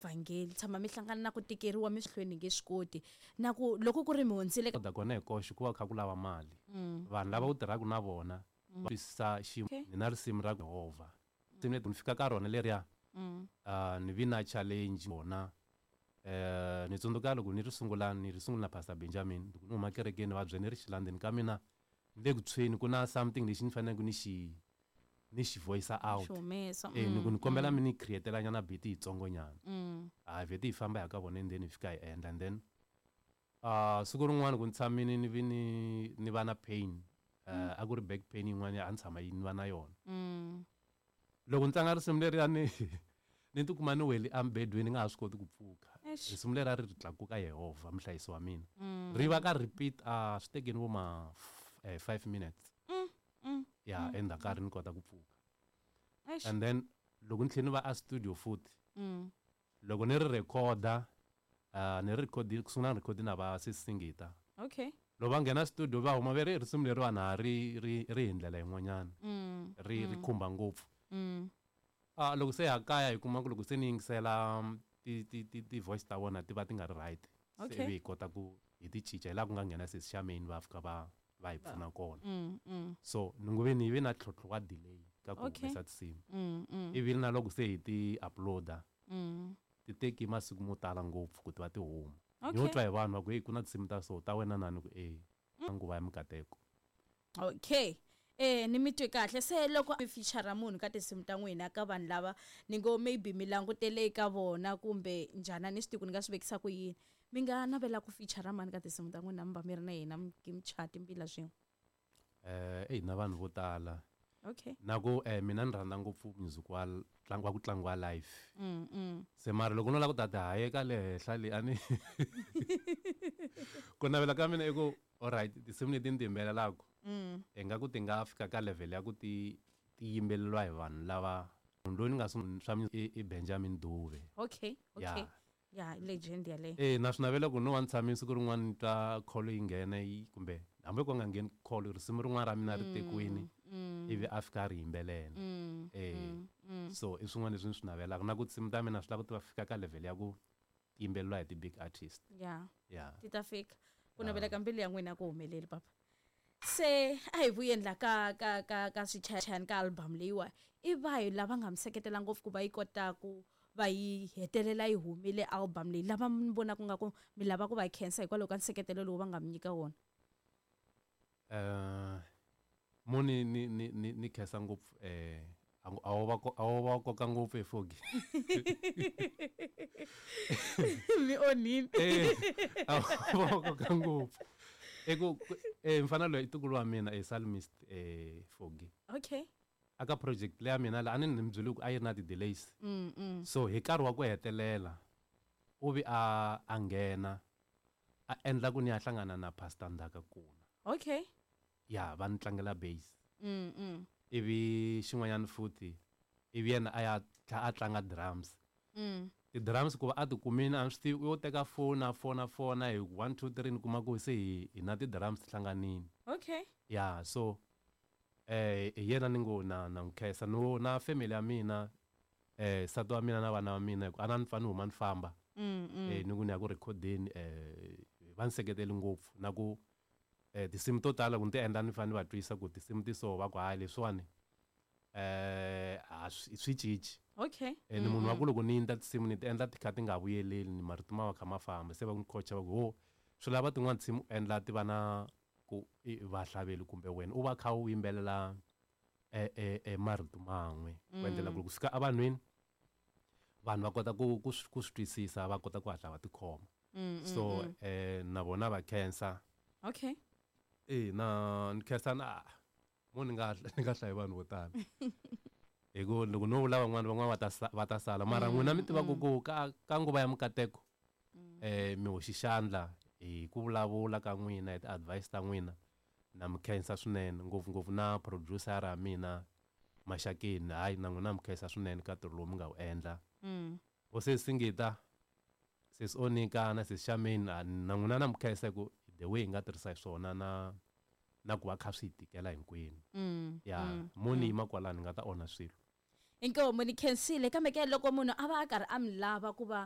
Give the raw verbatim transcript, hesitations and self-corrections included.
Vhangeli tshama mi hlangana na ku tikeriwa mi swi hlweni nge swi koti na ku loko ku ri mi hundzile. Koda kona hi koxe ku va kha ku lava mali. Vanhu lava u tirhaka na vona va twisisa xiyimo. Okay. Ni na risimu ra Yehovha, risimu leri ni fika ka rona leriya, uh, ni vi na challenge vona. eh ni tsundzuka loko ni ri sungula, ni ri sungula na Pastor Benjamin. Loko ni huma kerekeni, va byele ni ri xilandzeni ka mina, ni le ku tshweni, ku na something lexi ni faneleke ni xi ni xi voice out. Xi humesa. Eh ni ku ni kombela mi ni createla nyana beat yitsongo nyana. A vhete hi famba hi ya ka vona and then hi fika hi endla. And then uh siku rin'wana ku ni tshamini, ni vi ni ni va na pain. uh, a ku ri back pain yin'wana a ni tshama yi ni va na yona. Loko ni tlanga risimu leriya, ni ni tikuma ni wele embedweni, ni nga ha swi koti ku pfuka. Eish. Risimu leri a ri ri tlakuka Yehovha muhlayisi wa mina, ri va ka repeat. A swi tekeni vo ma f- eh, five minutes ya endzhaku ka ri ni kota ku pfuka. Eish. And then loko ni tlhela ni va a studio futhi, loko ni ri recorda, uh, ni ri record ku sungula, ni record na va sesingita. Okay loko va nghena studio, va huma ve ri risimu leriwani ha ri ri ri hi ndlela yin'wanyana, ri ri khumba ngopfu. Ah, loko se ha kaya hi kuma ku loko se ni yingisela um, ti ti ti ti voice ta vona ti va ti nga ri right. Se Okay. ivi hi kota ku hi ti cinca, hi laha ku nga nghena sesi Charmaine, va fika va va hi pfuna kona. So ni ngo ve ni ve na ntlhontlho wa delay ka ku Okay. humesa tinsimu. Ivi na loko se hi ti uploada, ti teki masiku mo tala ngopfu ku ti va ti huma. Ni yo Okay. twa hi vanhu va ku, "Hey, ku na tinsimu ta so ta wena nani?" Ku e nguva ya mikateko. Okay, eh ni mi twe kahle. Se loko mi feature munhu ka tinsimu ta n'wina, ka vanhu lava ni ngo maybe mi langutele eka vona kumbe njhani, a ni swi tivi ku ni nga swi vekisa ku yini, mi nga navela ku feature mani ka tinsimu ta n'wina, mi va mi ri na yena, mi mi chaya timbila swin'we? Eh eyi, na vanhu vo tala. Okay na ku eh mina ni rhandza ngopfu music wa tlangi wa ku tlangiwa live. Se mara loko no lava ku ta ti hayeka le henhla le, a ni ku navela ka mina i ku alright, tinsimu leti ni ti yimbelelaka i nga ku ti nga fika ka level ya ku ti ti yimbeleriwa hi vanhu lava. Munhu loyi ni nga swi swa i i Benjamin Dube. okay okay Yeah. Ya, legend yaleyo. Eh na swi navela ku no wa ni tshamile, siku rin'wana ni twa call yi nghena yi, kumbe hambi ku nga ngheni call, risimu rin'wana ra mina ri tekiwini, ivi a fika a ri yimbelela. eh so i swin'wana leswi ni swi navelaka, na ku tinsimu ta mina swi lava ku ti va fika ka level ya ku ti yimbeleriwa hi ti-big artist. Ya. Ya. Ti ta fika. Ku navela ka mbilu ya n'wina ku humeleli, papa. Se a hi vuyeni la ka ka ka ka swichayachayani, ka album leyiwa. I vahi lava nga mi seketela ngopfu ku va yi kota ku va yi hetelela yi humile album leyi, lava mi vonaka nga ku mi lava ku va khensa hikwalaho ka nseketelo lowu va nga mi nyika wona? eh mo ni ni ni ni ni khensa ngopfu eh a a wo va ko- a wo va koka ngopfu efogi. Mi onhini. Eh a wo va koka ngopfu i ku eh mfana loyi i ntukulu wa mina, e psalmist eh Fogi. Okay aka project leya mina la a ni ni mi byele ku a yi ri na ti-delays, so hi nkarhi wa ku hetelela u vi a a nghena a endla ku ni ya hlangana na Pastor Ndaka Kuna. Okay ya va ni tlangela bass. mm, mm. Ivi xin'wanyana futhi, ivi yena a ya tlha a tlanga drums. Mm. Ti-drums ku va a ti kumini, a ni swi tivi, u yo teka foni, a fona fona hi one two three, ni kuma ku se hi hi na ti-drums ti hlanganini. Okay ya, so eh hi yena ni ngo na na n'wi khensa, no na family ya mina, eh nsati wa mina na vana va mina, hi ku a na ni pfa ni huma ni famba, mm, mm. eh ni ku ni ya ku rhekhodeni, eh va ni seketeli ngopfu. Na ku eh tinsimu to tala ku ni ti endla, ni fanele ni va twisa ku tinsimu ti so, va ku hayi, leswiwani eh a swi swi cinci. Okay eh ni munhu wa ku loko ni endla tinsimu, ni ti endla ti kha ti nga vuyeleli, ni marito ma va kha ma famba. Se va ni coacha, va ku ho swi lava tin'wana tinsimu u endla ti va na ku i vahlaveli kumbe wena u va kha u yimbelela e e e marito man'we, ku endlela ku loko fika evanhwini, vanhu va kota ku ku swi ku swi twisisa, va kota ku hatla va tikhoma. So eh na vona va khensa. Okay eh na ni khensa na mo ni nga ni nga hlayi vanhu vo tala, hi ku loko no vula van'wana, van'wana va ta sa- va ta sala. Mara n'wina mi tiva ku ku ka ka nguva ya mikateko eh mi hoxi xandla hi ku vulavula ka n'wina, hi ti-advice ta n'wina. Na mi khensa swinene, ngopfungopfu na producer ya mina Maxakeni. Hayi, na n'wina mi khensa swinene ka ntirho lowu mi nga wu endla. Vo se Singita, sesi Onika na sesi Charmaine, a na n'wina na mi khensa hi ku the way hi nga tirhisa hi swona, na na ku va kha swi hi tikela hinkwenu. Ya, mo ni yima kwalano, ni nga ta onha swilo. Inkomu, ni khensile. Kambe ke loko munhu a va a karhi a mi lava ku va